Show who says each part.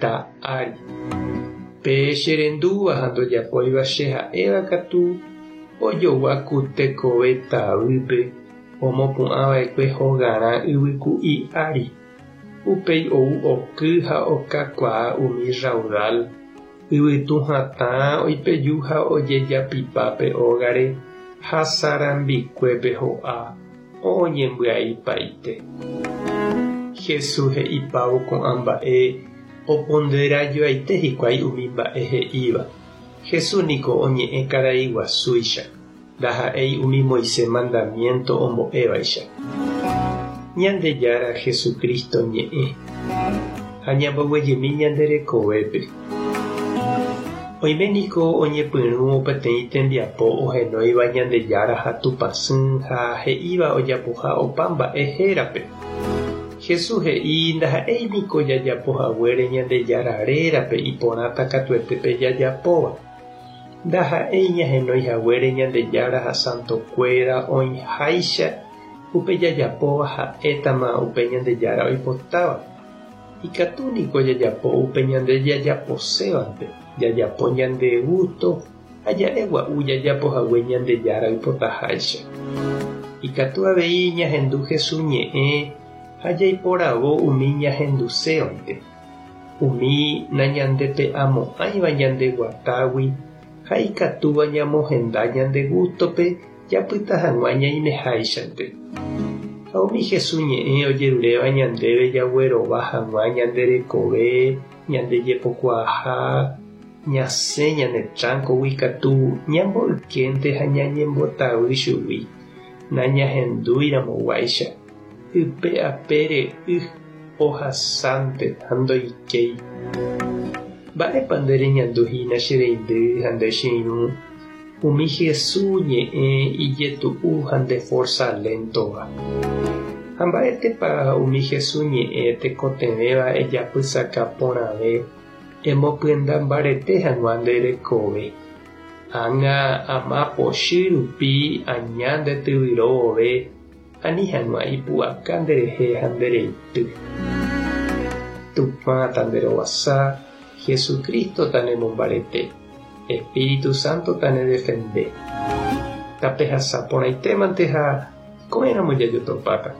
Speaker 1: Ita ári. Pe che rendúva ha ndojapóiva che ha'éva katu, ojogua ku tekove tavýpe omopu'ã va'ekue hogarã yvyku'i ári. Upéi ou oky ha okakuaa umi rraudal, yvytu hatã oipeju ha ojejapipa pe ógare ha sarambikuépe ho'a oñembyaipaite. Jesús he'ipávo ko'ã mba'e oponderajoaite hikuái umi mba'e he'íva. Jesús niko oñe'ẽ karai guasúicha, ndaha'éi umi Moisés mandamiénto ombo'évaicha. Ñandejára Jesucristo ñe'ẽ ha ñamboguejymi ñande rekovépe. Oime niko oñepyrũ peteĩ tembiapo ohenóiva Ñandejára ha Tupãsy ha he'íva ojapoha opa mba'e hérape. Jesús he'i ndaha'éi niko jajapo haguére Ñandejára rérape iporãta katuete pe jajapóva. Ndaha'éi ñahenói haguére Ñandejára ha santokuéra oĩháicha upe jajapóva ha'étama upe Ñandejára oipotáva. Ikatu niko jajapo upe ñande jajaposévante, jajapo ñande gústo ha ja'e gua'u jajapo hague Ñandejára oipotaháicha. Ikatu avei ñahendu Jesús ñe'ẽ ha jaiporavo umi ñahendusévante, umi nañandepe'amo'ãiva ñande guatágui ha ikatúva ñamohenda ñande gústope japyta hag̃ua ñaimeháichante. Ha umi Jesús ñe'ẽ ojeruréva ñandéve jaguerova hag̃ua ñande rekove, ñande jepokuaaha, ñasẽ ñane tránkogui katu ñamboykénte ha ñañembotavy chugui, nañahendúiramo guáicha, ype apére y ohasánte ha ndoikéi. Mba'épa nde reñandu hína che reindy ha nde che irũ? Umi Jesús ñe'ẽ ijetu'u ha nde forsa léntova. Ha mba'étepa umi Jesús ñe'ẽ tekotevẽva ejapysaka porãve emopyenda mbarete hag̃ua nde rekove? Ág̃a ama pochy rupi aña nde tyvyro vove ani hag̃ua ipu'aka nderehe ha nde reity. Tupã tanderovasa, Jesucristo tanemombarete, Espíritu Santo tanedefende. Tapehasa porãitémante ha ko'ẽramo jajotopáta.